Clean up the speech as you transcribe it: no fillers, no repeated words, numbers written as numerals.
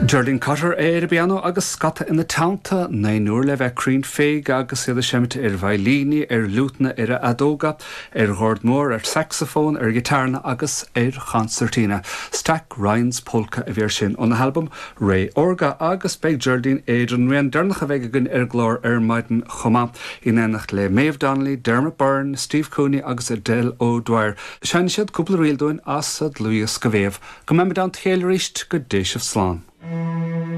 Geraldine Cotter ar an bpianó agus scata ina teannta, naonúr le bheith cruinn féig agus iad ag seimint ar veidhlíní, ar fhliúiteanna, ar fheadóga, ar dhord mór, ar sacsafón, ar ghiotáranna agus ar chonsairtíne. Stack Ryan's Polka a bhí air sin óna halbam Ré Órga agus beidh Geraldine ar an rian deireanach a bheidh againn ar an gclár ar maidin chomh maith, in éineacht le Maeve Donnelly, Dermot Byrne, Steve Cooney agus Edel O'Dwyer. Seinnfidh siad cúpla ríl dúinn as a dlúthdhiosca Mhéabh. Go mbeimid i dteannta a chéile arís, go dté sibh slán.